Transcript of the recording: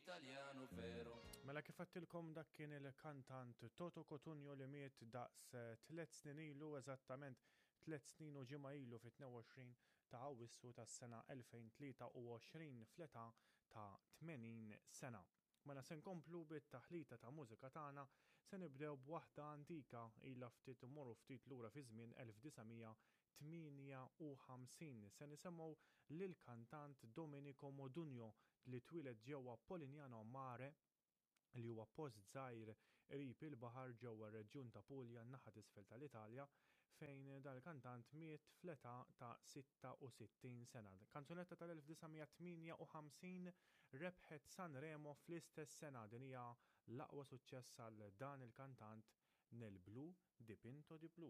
Italiano vero. Mela kif għedtilkom dak kien il-kantant Toto Cotugno li miet daqs tlet snin ilu, eżattament tlet snin u ġimgħa ilu fit-22 ta' Awwissu tas-sena 2023 fl-età ta' 80 sena. Mela se nkomplu bit-taħlita ta' mużika tagħna, se nibdew b'waħda antika, ilha ftit immorru ftit lura fiż-żmien 1958. Se nisemgħu lill-kantant Domenico Modugno li twieled ġewwa Polignano Mare, li huwa post żgħir qrib il-baħar ġewwa r-reġjun ta' Puglia n-naħa t'isfel tal-Italja, fejn dan il-kantant miet fl-età ta' 66 sena. Kanzunetta tal-1958 rebħet Sanremo fl-istess sena. Din hija l-aqwa suċċess għal dan il-kantant Nel blu dipinto di blu.